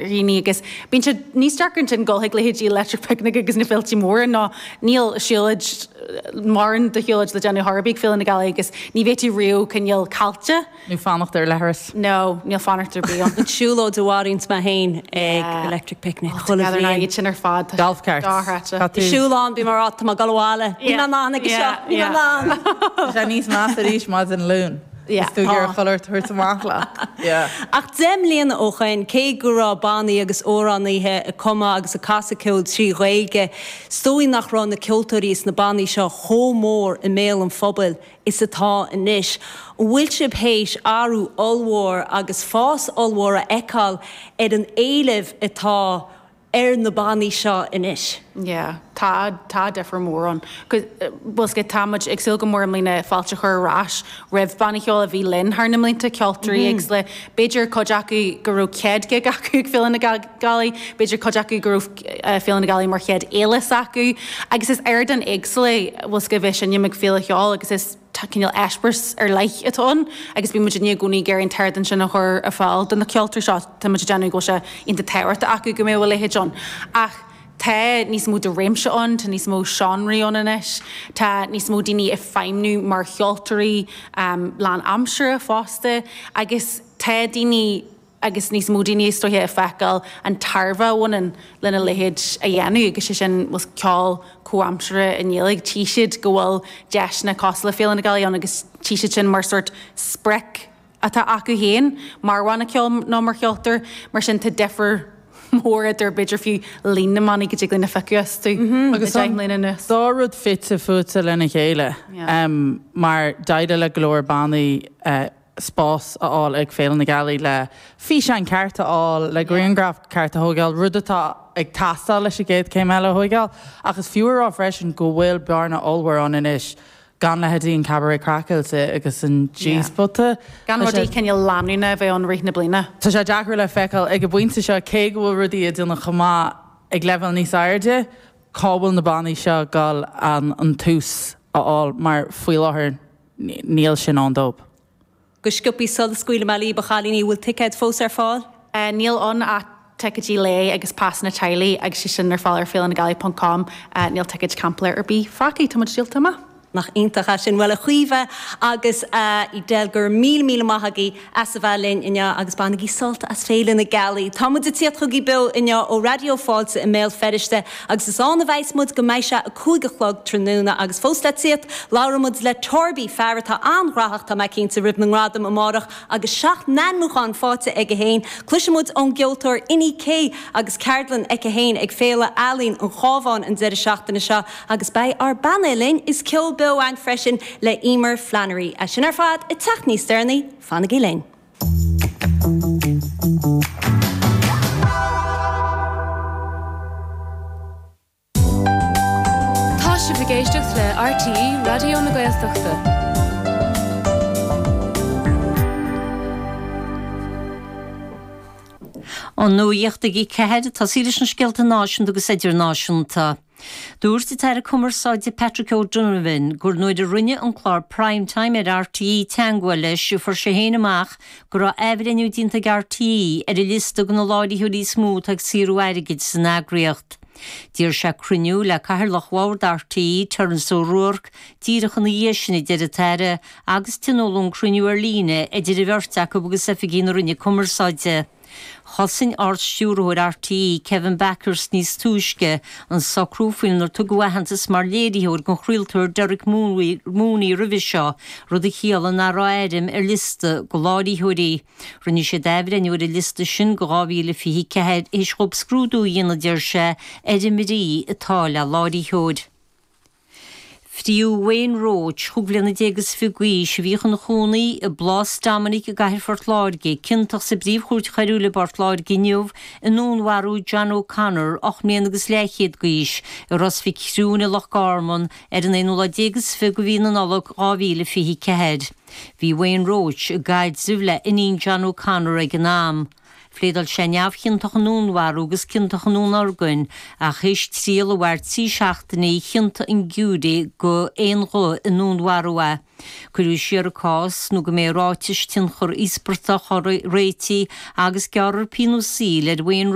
Dhaoine agus bíonn sé níos deacra ansin dul chuig leithéidí Electric Picnic agus na féiltí móra nó níl siúlóid, mórán de shiúlóid le déanamh chor ar bith ag Féile na Gealaí agus ní bheidh tú riamh cineál caillte. Nó fanacht ar leithreas. No, níl fanacht ar bith ann. An tsiúlóid a mharaíonns mé féin ag Electric Picnic chuile bhliain. Iad sin ar fad, tá Golf carts. dochreidte. Tá tú. Siúl ann, bím ag rá, tá mé ag dul abhaile, níl mé in ann aige seo, níl mé in ann. Tá sé níos measa arís maidin Luain. Yeah. Is tú ag iarraidh chuile shórt a thabhairt amach leat. Yeah. Ach 10 mbliana ó shoin, cé go raibh bannaí agus amhránaithe ag cumadh agus ag casadh ceoil trí Ghaeilge, is dóigh nach raibh na ceoltóirí is na bannaí seo chomh mór i mbéal an phobail is atá anois. An bhfuil sibh théis athrú ollmhór agus fás ollmhór a fheiceáil ar an éileamh atá ar na bannaí seo anois. Yeah, tá, tá difear mór ann. Bhfuil 's agat, tá muid ag súil go mór i mbliana fáilte a chur ar ais roimh bannaí ceoil a bhí linn thar na mblianta, ceoltóirí éagsúla, b'fhéidir cuid acu go raibh céad gig acu ag Féile na Gealaí, b'fhéidir cuid acu go raibh Féile na Gealaí mar chéad fhéile s'acu agus is ardán éagsúil é, bhfuil 's agat, a bheith ag seinm ag Féile Cheoil agus is. Tá cineál eispéireas ar leith atá ann agus bíonn muid i gcónaí ag iarraidh an t-ardán sin a chur ar fáil do na ceoltóirí seo. Tá muid ag déanamh go bhfuil sé iontach tábhachtach acu go mbeadh a leithéid ann. Ach tá níos mó de réimse ann, tá níos mó seánraí ann anois, tá níos mó daoine ag feidhmniú mar cheoltóirí lánaimseartha fosta agus tá daoine, agus níos mó daoine is dóiche ag feiceáil an tairbhe a bhaineann lena leithéid a dhéanamh agus sé sin bhfuil ceol comhaimseartha i nGaeilge. Tchí siad go bhfuil deiseanna cosúil le Féile na Gealaí ann agus tchí siad sin mar sórt sprioc atá acu féin mar bhanna ceoil nó mar cheoltóir. Mar sin tá difear mór idir b'fhéidir fiú líon na mbannaí go dtig linn a phiocadh astu le Agus 10 an mbliana anuas. dá rud fite fuaite lena chéile mar d'éirigh le go leor bannaí spás a fháil ag Féile na Gealaí le físeán ceart a fháil, le grianghraf ceart a thógáil, rud atá ag teastáil leis an gcéad chéim eile a thógáil. Ach is fiú a rá freisin go bhfuil bearna ollmhór ann anois gan leithéidí an Cabaret Craiceáilte agus an G-Spota. Gan rudaí cineál leanúna a bheith ann i rith na bliana. Tá sé deacair le feiceáil ag an bpointe seo, cé go bhfuil rudaí ag déanamh chomh maith ag leibhéal níos airde, cá bhfuil na bannaí seo ag dul an tús a fháil mar faoi láthair Níl sin ann dóibh. Go sciobthaí sula scaoilfidh mé libh, a chailíní, bhfuil ticéid fós ar fáil? Níl ann ach ticéidí lae agus pasanna teaghlaigh agus sé sin ar fáil ar féilenagealaí ponc com. Níl ticéid campála ar bith fágtha, tá muid díolta amach. Nach iontach é sin. Bhuel, a Chaoimhe agus a Edel, go raibh míle míle maith agaibh as a bheith linn inniu agus bainigí sult as Féile na Gealaí. Tá muid ag tíocht chugaibh beo inniu ó Raidió Fáilte i mBéal Feirste agus is ann a bheas muid go mbeidh sé 5 a chlog tráthnóna agus fós le tíocht, labhróidh muid le Torby, fear atá an-ghnóthach tá mé cinnte roimh na ngradaim amárach agus 7 n-ainmiúchán faighte aige féin. Cloisfidh muid ón gceoltóir Inni K agus ceardlann aici féin ag Féile Ealaíon an Chabháin an deireadh seachtaine seo agus beidh ár bpainéal linn is ceol beo againn freisin le Emer Flannery. É sin ar fad ag teacht níos deireanaí, fanaigí linn. Tá sibh ag éisteacht le RTÉ Raidió na Gaeltachta. An nuacht ag a 4, tosaí leis na scéalta náisiúnta agus idirnáisiúnta. Dúirt an tAire Cumarsáide Patrick O'Donovan gur nuair a rinne an clár Prime Time ar RTÉ teagmháil leis a fuair sé féin amach go raibh athbhreithniú déanta ag RTÉ ar a liosta de na láithreoirí is mó atá ag saothrú airgid san eagraíocht. D'iarr sé cruinniú le Cathaoirleach Bhord RTÉ, Terence O'Rourke, díreach ina dhiaidh sin, a deir an tAire, agus tionóladh an cruinniú ar líne idir an bheirt acu agus oifigigh na Roinne Cumarsáide. Chosain Ard-Stiúrthóir RTÉ, Kevin Bakhurst níos túisce, an socrú faoinar tugadh aitheantas mar léiritheoir don chraoltóir Derek Mooney roimhe seo, rud a chiallaigh nach raibh a ainm ar liosta de láithreoirí. Rinne siad athbhreithniú ar an liosta sin do 2024 théis dhóibh scrúdú a dhéanamh, deir sé, ar an mbrí atá le láithreoir. Fríodh Wayne Roche, chúig bhliana déag is fiche d'aois, a bhíodh ina chónaí i bPlás Dominic i gcathair Phort Láirge, ciontach sa bPríomh-Chúirt Choiriúil i bPort Láirge inniu i ndúnmharú John O'Connor, 8 mbliana agus leathchéad d'aois, i Ros Mhic Thriúin i Loch Garman ar an aonú lá déag is fiche de mhí na Nollag 2024. Bhí Wayne Roche i gcaidreamh le iníon John O'Connor ag an am. Phléadáil sé neamhchiontach i ndúnmharú agus ciontach i ndúnorgain, ach théis triail a mhair 3 seachtainí, chiontaigh an giúiré go aon ghuth i ndúnmharú é. Cuireadh siar an cás nó go mbeidh ráitis tionchar íospartach á réitigh agus gearrfar pionós saoil ar Wayne.